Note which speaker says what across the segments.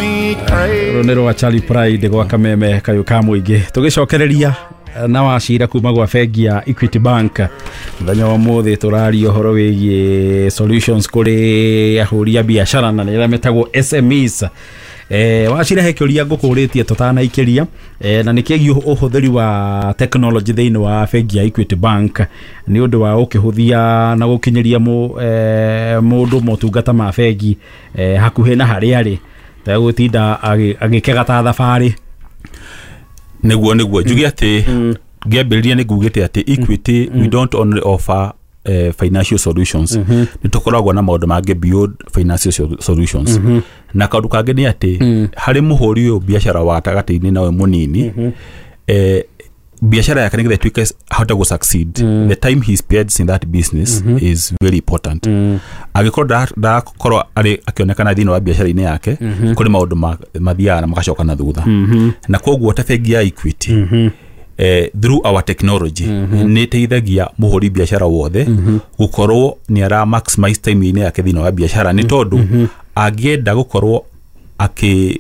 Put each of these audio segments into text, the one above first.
Speaker 1: me crazy.
Speaker 2: Rå rwa Charlie Pride gwa kameme kayå ka må ingä tå gä cokereria na wacira kuma gwa bengi ya Equity Bank. Mũthenya wa mũthĩ tũraria ũhoro wĩgiĩ solutions kũrĩ ahũri a biacara na nĩ arĩa metagwo SMEs. Wacira, he kĩũria ngũkũrĩtie tũtanaikĩria, na nĩ kĩgiĩ ũhũthĩri wa technology thĩinĩ wa bengi ya Equity Bank nĩ ũndũ wa gũkĩhũthia na gũkinyĩria mũndũ motungata ma bengi hakuhĩ na harĩa arĩ, tegũtinda agĩkega ta thabarĩ.
Speaker 3: Nĩguo njuge atĩ ngĩambĩrĩria nĩ ngugĩte atĩ Equity, we don't only offer financial solutions, nĩ tũkoragwo na maũndũ mangĩ beyond financial solutions. Na kaũndũ kangĩ nĩ atĩ harĩ mũhũri ũyũ biacara wa gatagatĩ-inĩ nawe mũnini, biashara yake nĩgetha ĩtuĩke ahote gũ succeed, the time he spends in that business is very important. Angĩkorwo ndarakorwo arĩ akĩonekana thĩinĩ wa biacara-inĩ yake, kũrĩ maũndũ mathiaga na magacoka na thutha. Na koguo ta bengi ya Equity, through our technology, nĩ ĩteithagia mũhũri biacara wothe gũkorwo nĩ ara maximize time-inĩ yake thĩinĩ wa biacara, nĩ tondũ angĩenda gũkorwo akĩ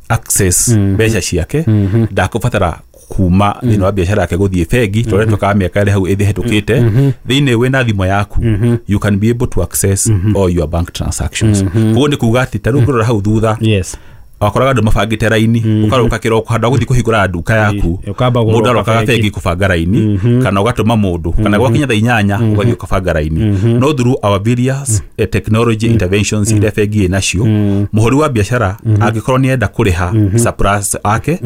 Speaker 3: access mbeca ciake, ndakũbatara kuma thĩinĩ wa biacara yake gũthiĩ bengi tondũ twekaga mĩaka ĩrĩa hau ĩhĩtũkĩte. Thĩinĩ wĩna thimũ yaku, you can be able to access all your bank transactions. Koguo nĩ kuga atĩ ta rĩu ngĩrora hau thutha, wakoraga andũ mabangĩte raini, ũkaroka kĩroko handũ ha gũthiĩ kũhingũra nduka yaku,
Speaker 2: Ũkamba
Speaker 3: mũndũ
Speaker 2: gũroka
Speaker 3: arokaga
Speaker 2: bengi.
Speaker 3: Bengi kũbanga raini, kana ũgatũma mũndũ, kana gwakinya thaa 8 ũgathiĩ ũkabanga raini. No through our various technology interventions iria bengi ĩ nacio, mũhũri wa biacara angĩkorwo nĩ enda kũrĩha suppliers ake,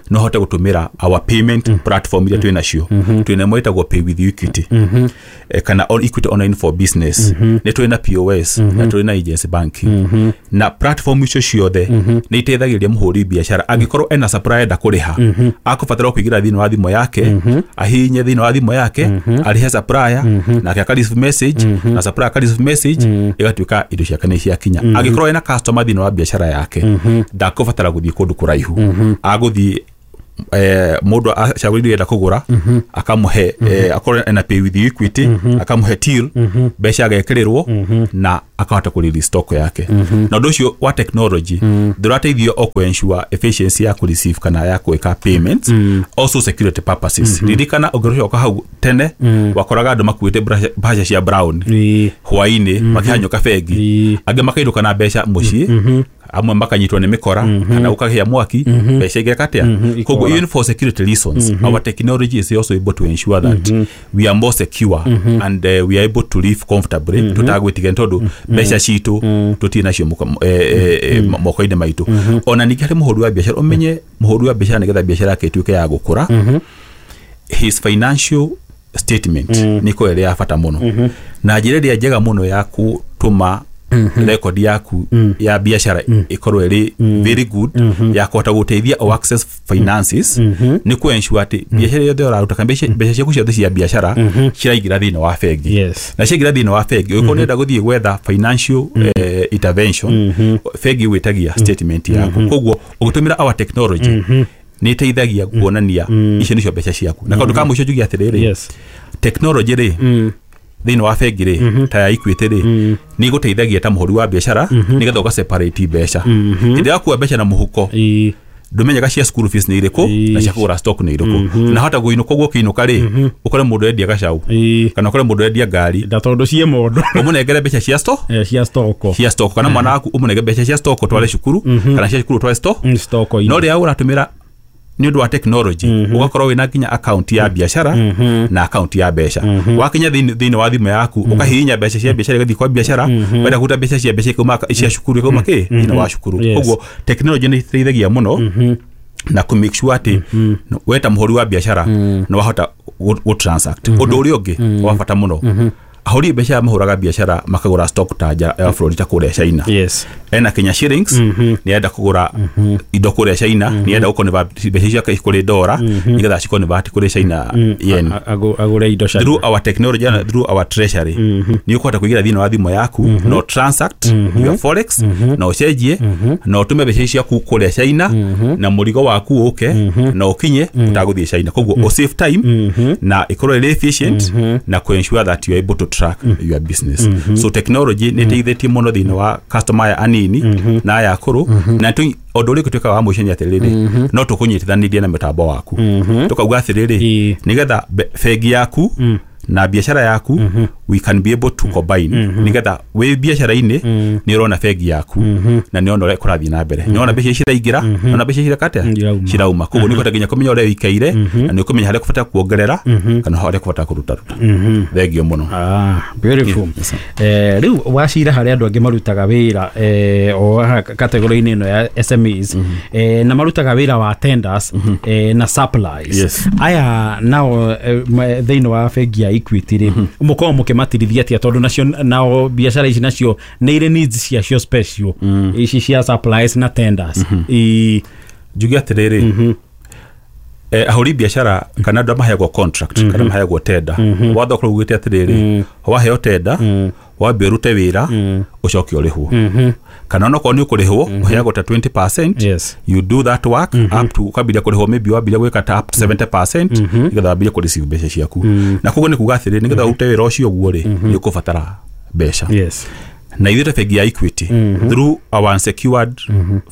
Speaker 3: no ahote gũtũmĩra our payment platform iria twĩ nacio. Twĩna ĩmwe ĩtagwo Pay with Equity, kana on Equity Online for Business, nĩ twĩ na POS na tũrĩ na agency banking. Na platform icio ciothe nĩ iteithagĩrĩria mũhũri biacara. Angĩkorwo ena supplier enda kũrĩha, akũbatara kũingĩra thĩinĩ wa thimũ yake, ahihinye thĩinĩ wa thimũ yake, arĩhe supplier, nake aka receive message, na supplier aka receive message, ĩgatuĩka indo ciake nĩ ciakinya. Angĩkorwo ena customer thĩinĩ wa biacara yake, ndakũbatara gũthiĩ kũndũ kũraihu. Agũthiĩ, mũndũ acagũrire enda kũgũra, akamũhe, akorwo ena Pay with Equity, akamũhe till, mbeca agekĩrĩrwo na akahota kũ release stock yake. Na ũndũ ũcio wa technology ndũrateithio o kũ ensure efficiency ya kũ receive kana ya gwĩka payments, also security purposes. Ririkana ũngĩcoka hau tene, wakoraga andũ makuĩte mbaca cia brown hwainĩ makĩhanyũka bengi, angĩ makainũka na mbeca mũciĩ, amwe makanyitwo nĩ mĩkora kana ũkagĩa mwaki, mbeca igeka atĩa? Koguo
Speaker 2: Ikora.
Speaker 3: Even for security reasons, our technology is also able to ensure that we are more secure and we are able to live comfortably tutagwĩtigĩra, tondũ mbeca citũ tũtirĩ nacio moko-inĩ maitũ. Ona ningĩ harĩ mũhũri wa biacara, ũmenye mũhũri wa biacara, nĩgetha biacara yake ĩtuĩke ya gũkũra, his financial statement nĩ ĩkoragwo ĩrĩ ya bata mũno. Na njĩra ĩrĩa njega mũno ya gũtũma record yaku ya biacara ĩkorwo ĩrĩ very good ya kũhota gũteithia o access finances nĩ kũ ensure atĩ biacara yothe ũraruta kana mbeca ciaku ciothe cia biacara ciraingĩra thĩinĩ wa bengi. Na ciaingĩra thĩinĩ wa bengi, ũngĩkorwo nĩenda gũthiĩ gwetha financial intervention, bengi gwĩtagia statement yaku. Koguo ũgĩtũmĩra our technology nĩ ĩteithagia kuonania icio nĩcio mbeca ciaku. Na kaũndũ ka mũico njuge atĩrĩrĩ, technology rĩ, thĩinĩ wa bengi rĩ, ta ya Equity rĩ, nĩ ĩgũteithagia ta mũhũri wa biacara nĩgetha ũga separate mbeca. Hĩndĩ ĩrĩa wakua mbeca na mũhuko, ndũmenyaga cia school fees nĩ irĩkũ na cia kũgũra stock nĩ irĩkũ, na hota kũinũka ũguo ũkĩinũka rĩ, ũkore mũndũ endia gacau kana ũkore mũndũ endia ngari,
Speaker 2: Na tondũ ciĩ mondo.
Speaker 3: Ũmũnengere mbeca cia stock,
Speaker 2: Cia stoko.
Speaker 3: Cia stock, kana mwana waku ũmũnengere mbeca cia stock ũtware cukuru, kana cia cukuru ũtware stock.
Speaker 2: Stoko.
Speaker 3: No rĩrĩa ũratũmĩra nĩ ũndũ wa technology, ũgakorwo wĩna nginya account ya biacara na account ya mbeca. Wakinya thĩinĩ wa thimũ yaku, ũkahihinya mbeca cia biacara igathiĩ kwa biacara, wenda kũruta mbeca cia mbeca ikauma, cia cukuru ikauma kĩ thĩinĩ wa cukuru. Koguo technology nĩ ĩteithagia mũno na kũ make sure atĩ we ta mũhũri wa biacara nĩ wahota gũ transact. Ũndũ ũrĩa ũngĩ wa bata mũno, ahũri biacara mahũraga biacara makagũra stock ta nja ya bũrũri, ta kũrĩa China. Ena Kenya shillings, nĩ enda kũgũra indo kũrĩa China, nĩ enda gũconvert mbeca ciake kũrĩ dora nĩgetha ciconvert kũrĩ China yen.
Speaker 2: Agũre indo cia
Speaker 3: Through our technology and through our treasury, nĩ ũkũhota kũingĩra thĩinĩ wa thimũ yaku no transact your forex, na ũcenjie na ũtũme mbeca ciaku kũrĩa China na mũrigo waku ũke na ũkinye ũtagũthiĩ China. Koguo ũ save time na ĩkorwo ĩrĩ efficient na kũ ensure that you are able to track your business. So technology nĩ ĩteithĩtie mũno thĩinĩ wa customer aya anini na aya akũrũ. Na ũndũ ũrĩa ũgĩtuĩka wa mũico nĩ atĩrĩrĩ, no tũkũnyitithanirie na mĩtambo waku, tũkauga atĩrĩrĩ, nĩgetha bengi yaku na biashara yaku we can be able to combine, nigetha wĩ biashara-inĩ nĩ ũrona bengi yaku na nĩ ũrona ũrĩa kũrathiĩ na mbere, nĩ ũrona mbeca ciraingĩra, nĩ ũrona mbeca cireka atĩa, cirauma. Koguo nĩ ũkũhota nginya kũmenya ũrĩa ũikaire, na nĩ ũkũmenya harĩa ũkũbata kuongerera kana harĩa ũkũbata kũruta ruta. Thengio mũno.
Speaker 2: Beautiful. Rĩu wacira harĩa andũ angĩ marutaga wĩra o kategori-inĩ ĩno ya SMEs, na marutaga wĩra wa tenders na supplies. Aya nao thĩinĩ wa bengi ya Equity rĩ, mũkoragwo mũkĩmatirithia atĩa, tondũ nacio nao biacara ici nacio nĩ irĩ needs ciacio special, ici cia supplies na tenders?
Speaker 3: Njuge atĩrĩrĩ, ahũri biacara kana andũ maheagwo contract kana maheagwo tender, watho ũkoragwo ugĩte atĩrĩrĩ, waheo tender wambe ũrute wĩra ũcoke ũrĩhwo, kana onokorwo nĩ ũkũrĩhwo ũheagwo ta 20%. You do that work up to ũkambĩrĩria kũrĩhwo, maybe wambĩrĩria gwĩka ta up to 70%, nĩgetha wambĩrĩrie kũ receive mbeca ciaku. Na koguo nĩ kuga atĩrĩrĩ, nĩgetha ũrute wĩra ũcio ũguo rĩ, nĩ ũkũbatara mbeca. Na ithuĩ ta bengi ya Equity, through our unsecured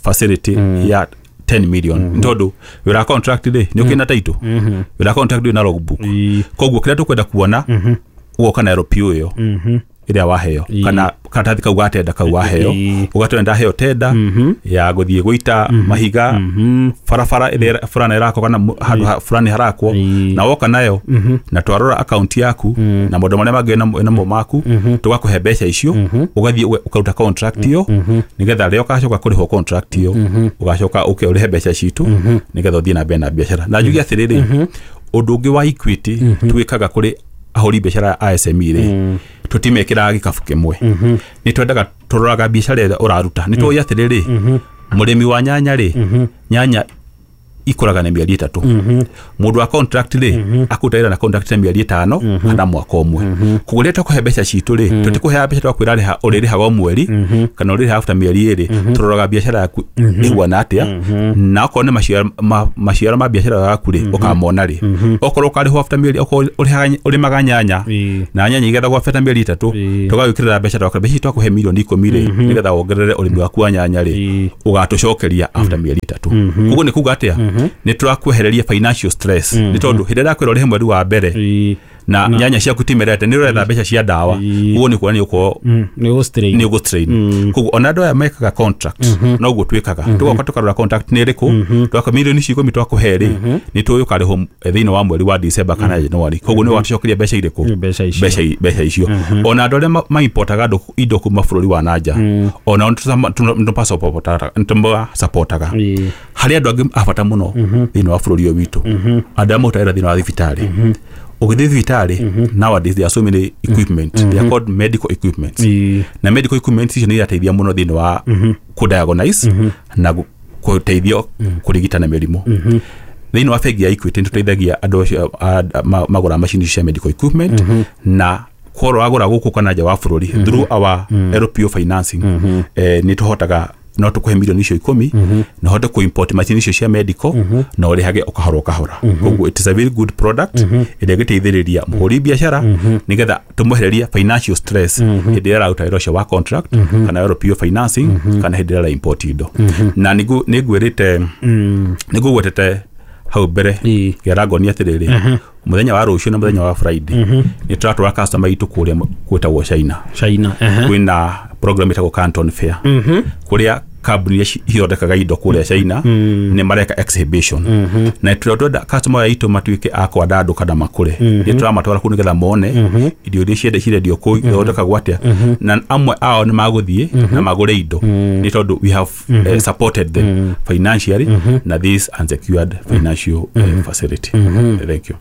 Speaker 3: facility ya 10 million, tondũ wĩra wa contract rĩ, nĩ ũkĩna title, wĩra wa contract wĩna logbook, koguo kĩrĩa tũkwenda kuona ũgoka na LPO ĩyo ĩrĩa waheo, kana karatathi kau ga tenda kau waheo, ũgatwĩra ndaheo tenda ya gũthiĩ gũita mahiga barabara ĩrĩa fulani ĩrakwo kana handũ fulani harakwo, na woka nayo na twarora account yaku na maũndũ marĩa mangĩ namo maku, tũgakũhe mbeca icio, ũgathiĩ ũkaruta contract ĩyo, nĩgetha rĩrĩa ũgacoka kũrĩhwo contract ĩyo, ũgacoka ũke ũrĩhe mbeca citũ, nĩgetha ũthiĩ na mbere na biacara. Na njuge atĩrĩrĩ, ũndũ ũngĩ wa Equity twĩkaga kũrĩ ahũri biacara a SME rĩ, tũtimekĩraga gĩkabu kĩmwe. Nĩ twendaga tũroraga biacara ĩrĩa ũraruta. Nĩ tũĩ atĩrĩrĩ, mũrĩmi wa nyanya rĩ, nyanya ikũraga na mĩeri 3. Mũndũ wa contract rĩ, akũruta wĩra na contract na mĩeri 5 kana mwaka ũmwe. Koguo rĩrĩa tũkũhe mbeca citũ rĩ, tũtikũheaga mbeca twakwĩra rĩha ũrĩrĩhaga o mweri kana ũrĩrĩhaga after mĩeri 2. Tũroraga biacara yaku ĩhuana atĩa, na okorwo nĩ maciaro ma biacara yaku rĩ, ũkamona rĩ. Okorwo ũkarĩhwo after mĩeri, okorwo ũrĩmaga nyanya na nyanya igethagwo after mĩeri 3, tũgagwĩkĩrĩra mbeca twakwĩra mbeca twakũhe milioni 10 rĩ, nĩgetha wongerere ũrĩmi waku wa nyanya rĩ, ũgatũcokeria after mĩeri 3. Koguo nĩ kuga atĩa, nĩ tũrakwehereria financial stress, nĩ tondũ hĩndĩ ĩrĩa kwĩra ũrĩhe mweri wa mbere na nyanya ciaku timerete, nĩ ũretha mbeca cia ndawa, ũguo nĩ kuonania ũkorwo nĩ ũgũ-strain. Koguo ona andũ aya mekaga contract noguo twĩkaga, tũgoka tũkarora contract nĩ ĩrĩkũ, tũgakora milioni ici 10 twakũhe rĩ, nĩ tũĩ ũkarĩhwo thĩinĩ wa mweri wa December kana January, koguo nĩ ũgatũcokeria mbeca irĩkũ, mbeca icio. Ona andũ arĩa maimportaga indo kuma bũrũri wa nanja, ona nĩtũmasupportaga. Harĩ andũ angĩ a bata mũno thĩinĩ wa bũrũri ũyũ witũ, andũ arĩa marutaga wĩra thĩinĩ wa thibitarĩ. Ũgĩthiĩ thibitarĩ, nowadays there are so many equipment, they are called medical equipment, na medical equipment icio nĩ irateithia mũno thĩinĩ wa kũ-diagnose na gũteithio kũrigitana mĩrimũ. Thĩinĩ wa bengi ya Equity nĩ tũteithagia andũ acio magũra macini cia medical equipment, na korwo wagũra gũkũ kana nja wa bũrũri through our LPO financing, nĩ tũhotaga no tũkũhe milioni icio 10 na hote kũ-import macini icio cia medical na ũrĩhage o kahora o kahora. Koguo it is a very good product ĩrĩa ĩgĩteithĩrĩria mũhũri biacara, nĩgetha tũmwehererie financial stress hĩndĩ ĩrĩa araruta wĩra ũcio wa contract kana LPO financing kana hĩndĩ ĩrĩa ara import indo. Na nĩngwĩrĩte, nĩngũgwetete hau mbere ngĩra atĩrĩrĩ, mũthenya wa rũciũ na mũthenya wa Friday nĩ tũratwara customer itũ kũrĩa gwĩtagwo China. Kwĩna program ĩtagwo Canton Fair, kũrĩa kambuni iria ithondekaga indo kũrĩa China nĩ mareka exhibition, na tũrenda customer aitũ matuĩke a kwandandũka na makũre. Nĩ tũramatwara kũu nĩgetha mone indo iria ciendecio kũu ithondekagwo atĩa, na amwe ao nĩ magũthiĩ na magũre indo, nĩ tondũ we have supported them financially na this unsecured financial facility. Thank you.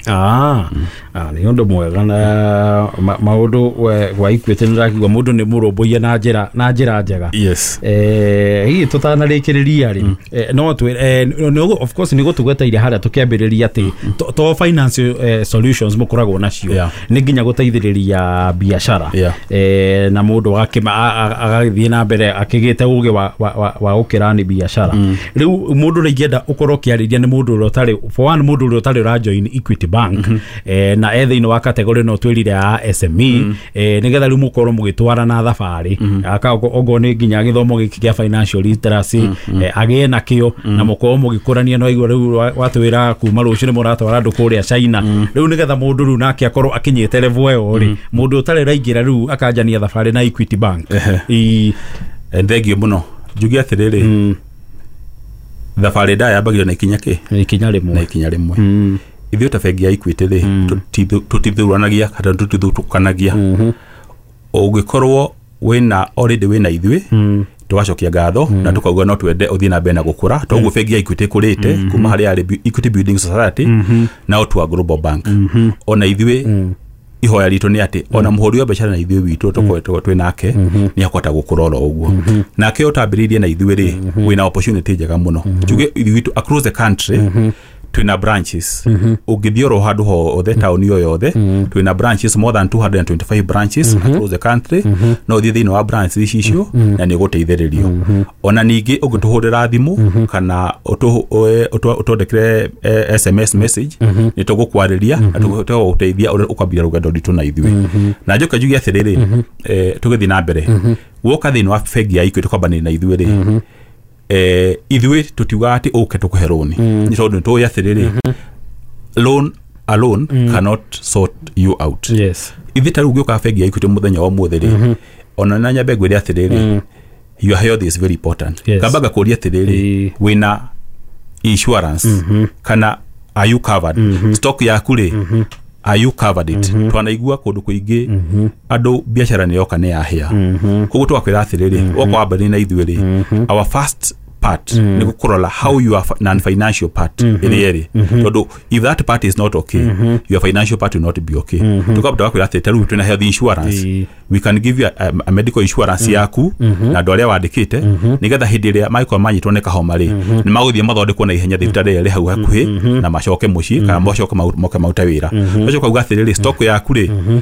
Speaker 2: Nĩ ũndũ mwega na maũndũ gwa Equity nĩ ndakigua mũndũ nĩ mũrũmbũiye na njĩra njega.
Speaker 3: Yes.
Speaker 2: Hihi tũtanarĩkĩrĩria rĩ, no twĩ of course nĩ gũtugweteire harĩa tũkĩambĩrĩria atĩ to finance solutions mũkoragwo nacio nĩ nginya gũteithĩrĩria biacara na mũndũ agagĩthiĩ na mbere akĩgĩte ũgĩ wa gũkĩrani biacara. Rĩu mũndũ ũrĩa ingĩenda ũkorwo ũkĩarĩria nĩ mũndũ ũrĩa ũtarĩ, for one, mũndũ ũrĩa ũtarĩ ũrajoin Equity Bank na e thĩinĩ wa category no twĩrire ya SME, nĩgetha rĩu mũkorwo mũgĩtwarana thabarĩ, okorwo nĩ nginya gĩthomo gĩkĩ kĩa financial literacy agĩe nakĩo na mũkorwo mũgĩkũrania. No igua rĩu watwĩra kuma rũciũ nĩ mũratwara andũ kũrĩa China, rĩu nĩgetha mũndũ rĩu nake akorwo akinyĩte level ĩyo rĩ, mũndũ ũtarĩ ũraingĩra rĩu akanjania thabarĩ na Equity Bank.
Speaker 3: Thengio mũno. Njuge atĩrĩrĩ, thabarĩ ndaya yambagĩrĩria na ikinya kĩ?
Speaker 2: Ikinya rĩmwe.
Speaker 3: Na ikinya rĩmwe. Ithuĩ ta bengi ya Equity rĩ, tũtithuranagia kana tũtithutũkanagia. Ũngĩkorwo wĩna already wĩna ithuĩ, tũgacokia ngatho na tũkauga no twende ũthiĩ na mbere na gũkũra. Toguo bengi ya Equity ĩkũrĩte kuma harĩa yarĩ Equity Building Society na ũtua Global Bank. Ona ithuĩ ihoya ritũ nĩ atĩ ona mũhũri wa biacara na ithuĩ witũ tũkoretwo twĩ nake nĩ akũhota gũkũra oro ũguo. Nake ũtambĩrĩirie na ithuĩ rĩ, wĩna opportunity njega mũno. Njuge ithuĩ witũ across the country twĩna branches. Ũngĩthiĩ oro handũ hothe taũni o yothe, twĩna branches, more than 225 branches across the country. No ũthiĩ thĩinĩ wa branches ici icio na nĩ ũgũteithĩrĩrio. Ona ningĩ ũngĩtũhũrĩra thimũ kana ũtwandĩkĩre SMS message, nĩ tũgũkwarĩria na tũgũteithia ũrĩa ũkwambia rũgendo rwitũ na ithuĩ. Na njoke njuge atĩrĩrĩ, tũgĩthiĩ na mbere, woka thĩinĩ wa bengi ya Equity kwambanĩria na ithuĩ rĩ, ithuĩ tũtiugaga atĩ ũke tũkũhe loan, nĩ tondũ nĩtũĩ atĩrĩrĩ, loan alone cannot sort you out. Ithuĩ ta rĩu ũngĩũka bengi ya Equity mũthenya wa ũmũthĩ rĩ, ona na nyambe ngwĩre atĩrĩrĩ, your health is very important. Kamba ngakũria atĩrĩrĩ, wĩna insurance kana are you covered? Stock yaku rĩ, are you covered it? Twanaigua kũndũ kũingĩ andũ biacara nĩ yoka nĩ yahĩa. Koguo tũgakwĩra atĩrĩrĩ, woka wambĩrĩria na ithuĩ rĩ, our first part nĩ gũkũrora how your non-financial part ĩrĩa ĩrĩ, tondũ if that part is not okay, your financial part will not be okay. Tũkamba tũgakwĩra atĩ ta rĩu twĩna health insurance, we can give you a medical insurance yaku na andũ arĩa wandĩkĩte, nĩgetha hĩndĩ ĩrĩa mangĩkorwo manyitwo nĩ kahoma rĩ, nĩ magũthiĩ mathondekwo na ihenya thibitarĩ ĩrĩa ĩrĩ hau hakuhĩ na macoke mũciĩ kana macoke moke marute wĩra. Ũgacoka uga atĩrĩrĩ, stock yaku rĩ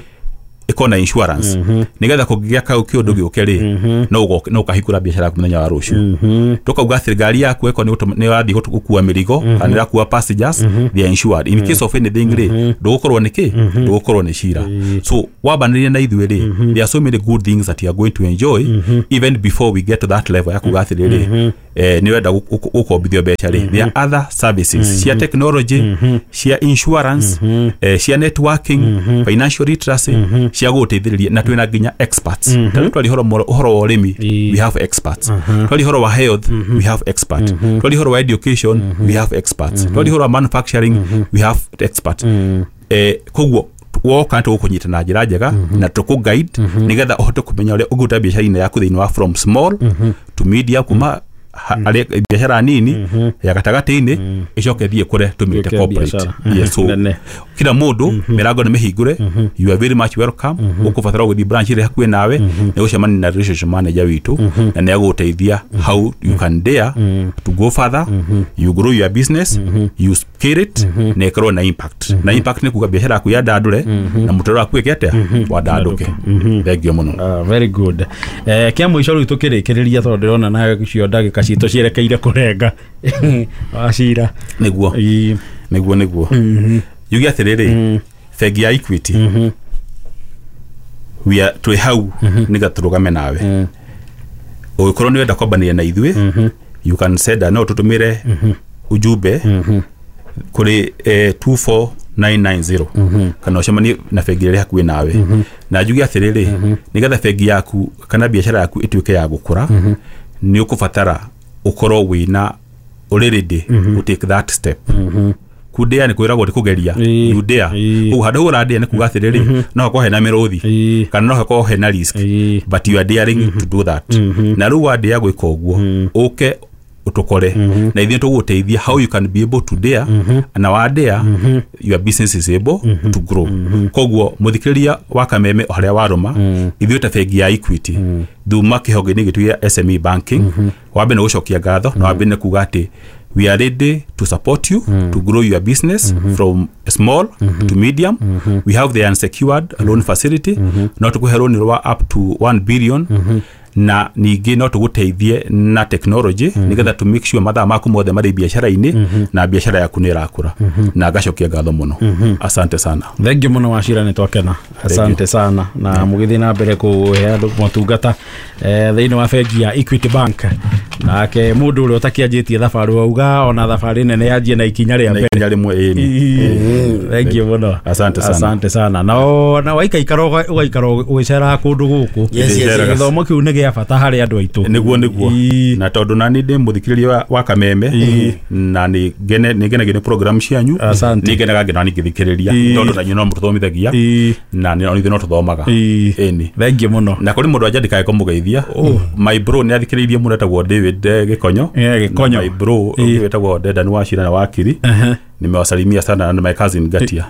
Speaker 3: ĩkorwo na insurance, nĩgetha kũngĩgĩa kau kĩũndũ gĩũke rĩ, no ũkahingũra biacara yaku mũthenya wa rũciũ. Tũkauga atĩ ngari yaku ĩkorwo nĩ ũrathiĩ gũkua mĩrigo kana ĩrakua passengers, they are insured in case of anything rĩ, ndũgũkorwo nĩ kĩ, ndũgũkorwo nĩ cira. So wambanĩria na ithuĩ rĩ, there are so many good things that you are going to enjoy even before we get to that level ya kuga atĩrĩrĩ, nĩ ũrenda gũkombithio mbeca rĩ, there are other services cia technology, cia insurance, cia networking, financial literacy, cia gũgũteithĩrĩria, na twĩna nginya experts. Ta rĩu twaria ũhoro wa ũrĩmi, we have experts. Twaria ũhoro wa health, we have experts. Twaria ũhoro wa education, we have experts. Twaria ũhoro wa manufacturing, we have experts. Koguo woka tũgũkũnyita na njĩra njega na tũkũ guide nĩgetha ũhote kũmenya ũrĩa ũngĩruta biacara-inĩ yaku thĩinĩ wa from small to medium, kuma biacara nini ya gatagatĩ-inĩ ĩcoke ĩthiĩ kũre tũmĩte corporate. Yes, so kila mũndũ mĩrango nĩ mĩhingũre, you are very much welcome. Ũkũbatara gũthiĩ branch ĩrĩa hakuhĩ nawe nĩ gũcemania na relationship manager witũ na nĩ agũgũteithia how you can dare to go further, you grow your business, you scale it, na ĩkorwo na impact. Na impact nĩ kuga biacara yaku yandandũre na mũtũrĩre waku ĩke atĩa, wandandũke. Thengio mũno.
Speaker 2: Very good. Kĩa mũico rĩu tũkĩrĩkĩrĩria, tondũ ndĩrona nacio ndagĩka citũ cierekeire kũrenga wacira.
Speaker 3: Nĩguo nĩguo nĩguo yuge atĩrĩrĩ, bengi ya Equity we are twĩ hau nĩgetha tũrũgame nawe. Ũngĩkorwo nĩ wenda kwambanĩria na ithuĩ, you can send, no tũtũmĩre ujumbe kũrĩ 24990 kana ũcemanie na bengi ĩrĩa hakuhĩ nawe. Na njuge atĩrĩrĩ, nĩgetha bengi yaku kana biacara yaku ĩtuĩke ya gũkũra, nĩ ũkũbatara ũkorwo wĩna ũrĩ ready to take that step. Kudea nĩ kwĩragwo nĩ kũgeria, you dare. Koguo handũ hau ũradea nĩ kuga atĩrĩrĩ, no hakorwo hena mĩrũthi kana no hakorwo hena risk, but you are daring to do that. Na rĩu wadea gwĩka ũguo, ũke Utukore na ithuĩ tũgũteithia how you can be able to dare, na wa dare your business is able to grow. Koguo mũthikĩrĩria wa Kameme o harĩa warũma, ithuĩ ta bengi ya Equity thuma kĩhonge-inĩ gitũ gĩa SME banking, wambe nĩ gũcokia ngatho na wambe nĩ kuga atĩ we are ready to support you to grow your business from small to medium. We have the unsecured loan facility, no tũkũhe loan rwa up to 1 billion, na ningĩ no tũgũteithie na technology nĩgetha to make sure mathaa maku mothe marĩ biacara-inĩ na biacara yaku nĩ ĩrakũra. Na ngacokia ngatho mũno. Asante sana.
Speaker 2: Thank you mũno Wachira, nĩ twakena. Asante sana na mũgĩthiĩ na mbere kũhe andũ motungata thĩinĩ wa bengi ya Equity Bank. Nake mũndũ ũrĩa ũtakĩanjĩtie thabarĩ wauga ona thabarĩ nene yanjie na ikinya rĩa mbere.
Speaker 3: Ikinya rĩmwe, ĩni.
Speaker 2: Thank you mũno.
Speaker 3: Asante sana.
Speaker 2: Asante sana. Na waikaikara ũgaikara ũgĩceraga kũndũ gũkũ.
Speaker 1: Yes, yes, yes.
Speaker 2: Gĩthomo kĩu nĩ gĩa bata harĩ andũ aitũ.
Speaker 3: Nĩguo. Na tondũ nani ndĩ mũthikĩrĩria wa Kameme na nĩ ngenagio nĩ program cianyu, nĩ ngenaga ngĩona ngĩthikĩrĩria tondũ na inyuĩ no mũtũthomithagia na nĩ ithuĩ no tũthomaga. Ĩni.
Speaker 2: Thank you mũno.
Speaker 3: Na kũrĩ mũndũ anja ndikae kũmũgeithia, my bro nĩ athikĩrĩirie mũno etagwo David Gĩkonyo.
Speaker 2: Gĩkonyo.
Speaker 3: My bro ũngĩ wĩtagwo Dedan Wachira na Wakiri, nimewasalimia sana na my cousin Gatia,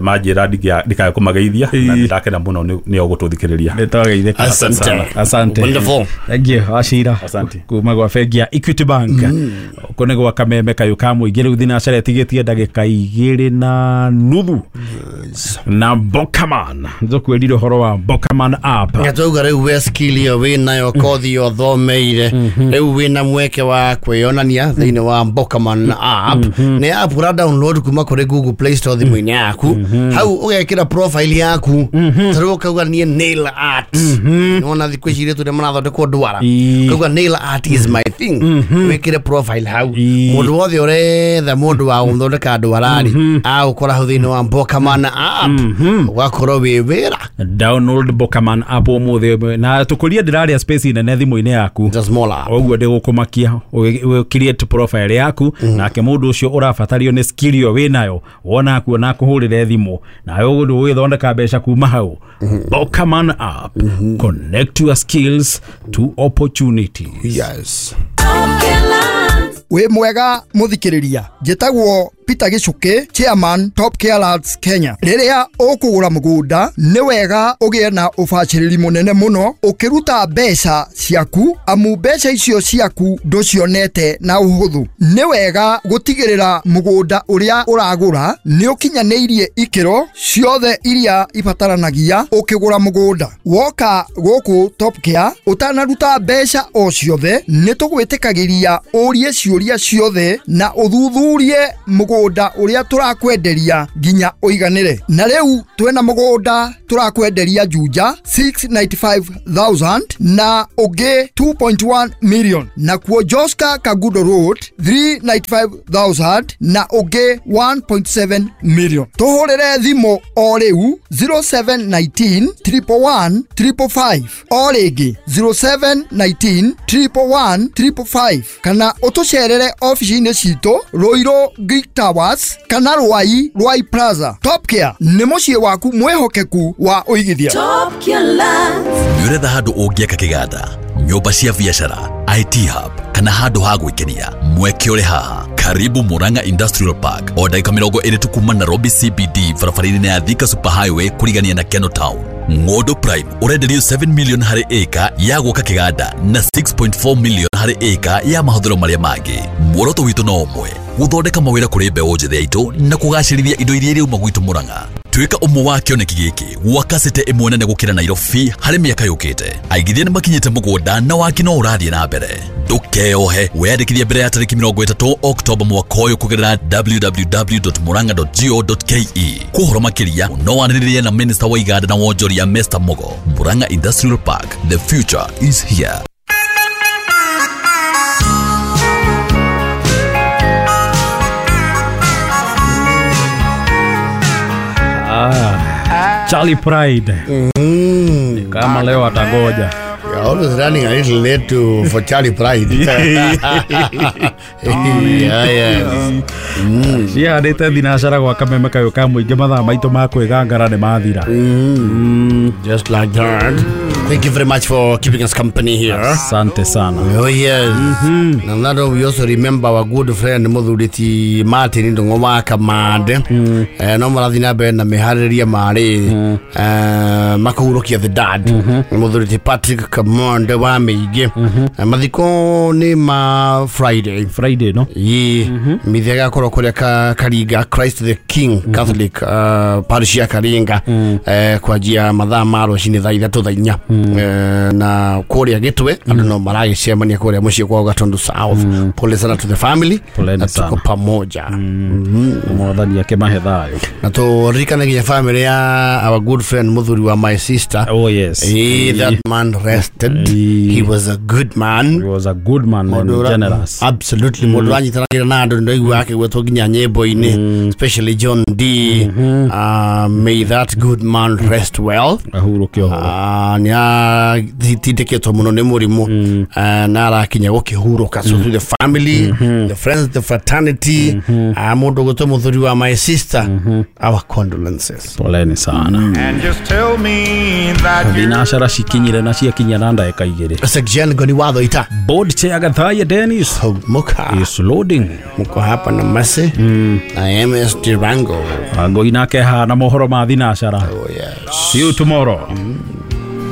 Speaker 3: manjĩra ndikae kũmageithia na ndakena mũno nĩo gũtũthikĩrĩria.
Speaker 2: Nĩtwageithĩka.
Speaker 1: Asante.
Speaker 2: Asante.
Speaker 1: Wonderful.
Speaker 2: Thank you Wachira.
Speaker 3: Asante.
Speaker 2: Kuma gwa bengi ya Equity Bank. Kũ nĩ gwa Kameme kayũ ka mũingĩ rĩu thinacara ĩtigĩtie ndagĩka 2.5 na Bokaman. Nĩtũkwĩrire ũhoro wa Bokaman app.
Speaker 1: Ngatauga rĩu we skill ĩyo wĩnayo, kothi ĩyo ũthomeire, rĩu wĩna mweke wa kwĩyonania thĩinĩ wa Bokaman app. Nĩ app ũra download kuma kũrĩ Google Play Store thimũ-inĩ yaku. Hau ũgekĩra profile yaku, ta rĩu ũkauga niĩ nail art. Nĩwona thikũ ici airĩtu nĩmarathondekwo ndwara, ũkauga nail art is my thing, wĩkĩre profile hau. Mũndũ wothe ũretha mũndũ wa gũthondeka ndwara-rĩ, agũkora hau thĩinĩ wa Bokaman app, ũgakorwo wĩ wĩra.
Speaker 2: Download Bokaman app ũmũthĩ na tũkũrie ndĩraria space nene thimũ-inĩ yaku.
Speaker 1: It's a small app.
Speaker 2: Ũguo ndĩgũkũmakia create profile yaku, nake mũndũ ũcio ũrabatario nĩ skill ĩyo wĩnayo wona kuona kũhũrĩre thimũ nawe ũgũthondeka mbeca kuma hau. Bokaman app, connect your skills to opportunities.
Speaker 1: Yes.
Speaker 4: Wĩ mwega mũthikĩrĩria, njĩtagwo Peter Gichuki, chairman Top Care Lads Kenya. Rĩrĩa ũkũgũra mũgũnda nĩ wega ũgĩe na ũbacĩrĩri mũnene mũno ũkĩruta mbeca ciaku, amu mbeca icio ciaku ndũcionete na ũhũthũ. Nĩ wega gũtigĩrĩra mũgũnda ũrĩa ũragũra nĩ ũkinyanĩirie ikĩro ciothe iria ibataranagia ũkĩgũra mũgũnda. Woka gũkũ Top Care ũtanaruta mbeca o ciothe, nĩ tũgwĩtĩkagĩria ũrie ciũria ciothe na ũthuthurie mũgũnda ũrĩa tũrakwenderia nginya ũiganĩre. Na rĩu twĩna mũgũnda tũrakwenderia Juja 695,000 na ũngĩ 2.1 million, na kuo Joska Kagudo Road 395,000 na ũngĩ 1.7 million. Tũhũrĩre thimũ o rĩu 0719 111 555, o rĩngĩ 0719 111 555, kana ũtũcerere ofici-inĩ citũ Ruiru Greek Towers kana Ruai Ruai Plaza. Top Care nĩ mũciĩ waku mwĩhokeku wa ũigithia.
Speaker 5: Top Care Lands.
Speaker 6: Nĩũretha handũ ũngĩaka kĩganda, nyũmba cia biacara, IT hub kana handũ ha gwĩkenia, mweke ũrĩ haha. Karibu Murang'a Industrial Park, o ndagĩka 20 tu kuma Nairobi CBD, barabara-inĩ ya Thika Super Highway kũrigania na Keno Town. Ng'ondo Prime ũrenderio 7 million harĩ ĩka ya gwaka kĩganda na 6.4 million harĩ ĩka ya mahũthĩro marĩa mangĩ. Muoroto witũ no ũmwe, gũthondeka mawĩra kũrĩ mbeũ njĩthĩ aitũ na kũgacĩrithia indo iria iriuma gwitũ Murang'a. Tuĩka ũmwe wa kĩoneki gĩkĩ gwaka city ĩmwe nene gũkĩra Nairobi harĩ mĩaka yũkĩte. Aigithia nĩmakinyĩte mũgũnda na waki no ũrathiĩ na mbere. Ndũkeyohe, weyandĩkithie mbere ya tarĩki 30 Oktoba mwaka ũyũ kũgerera www.murang'a.go.ke. Kwa ũhoro makĩria no wanĩrĩrie na Minister wa Iganda na Wonjoria Mr. Mugo. Murang'a Industrial Park, the future is here.
Speaker 2: Charlie Pride. Kama leo atagoja.
Speaker 1: You're always running a little late for Charlie Pride. Yeah, yeah.
Speaker 2: Cihandĩte thinacara gwa Kameme kayũ ka mũingĩ mathaa maitũ ma kwĩgangara nĩ mathira.
Speaker 1: Just like that. Thank you very much for keeping us company here.
Speaker 2: Asante sana.
Speaker 1: Oh yes. Na that we also remember our good friend muthuri Martin Ndung'u wa Kamande. No marathi na mbere na mĩharĩrĩria marĩ makũhurũkia the dad. Muthuri Patrick Kamande wa Mĩingĩ. Mathiko nĩ ma Friday.
Speaker 2: Friday no.
Speaker 1: Ye mithia gakorwo kũrĩa Karinga Christ the King Catholic parish ya Karinga kwanjia mathaa ma rũcinĩ thaa ithatũ thaa inya. Na kũrĩa Gĩtwe andũ no maragĩcemania kũrĩa mũciĩ kwao Gatundu South. Pole sana to the family.
Speaker 2: Poleni
Speaker 1: Na tuko
Speaker 2: sana.
Speaker 1: pamoja.
Speaker 2: Mwathani akĩmahe thayũ.
Speaker 1: Na tũririkane nginya family ya our good friend muthuri wa my sister.
Speaker 2: Oh yes.
Speaker 1: That man rested.
Speaker 2: Eh.
Speaker 1: He was a good man.
Speaker 2: He was a good man and generous.
Speaker 1: Absolutely. Mũndũ ũranyitanagĩra na andũ nĩndaigua akĩgwetwo nginya nyĩmbo-inĩ, especially John D. May that good man rest well.
Speaker 2: Ahurũke ũhoro.
Speaker 1: Nĩ atindĩkĩtwo mũno nĩ mũrimũ na arakinya gũkĩhurũka. So to the family, the friends, the fraternity, mũndũ ũgwĩtwo mũthuri wa my sister, our condolences.
Speaker 2: Poleni sana.
Speaker 5: And just tell me that you're
Speaker 2: Thinacara cikinyire na ciakinya na ndagĩka igĩrĩ.
Speaker 1: Section Goni Watho ita
Speaker 2: Board chair Gathaiya Dennis
Speaker 1: Muka
Speaker 2: is loading.
Speaker 1: muko hapa na Masi na MS Durango.
Speaker 2: Ngoi nake haha na mohoro ma thinacara.
Speaker 1: Oh yes.
Speaker 2: See you tomorrow.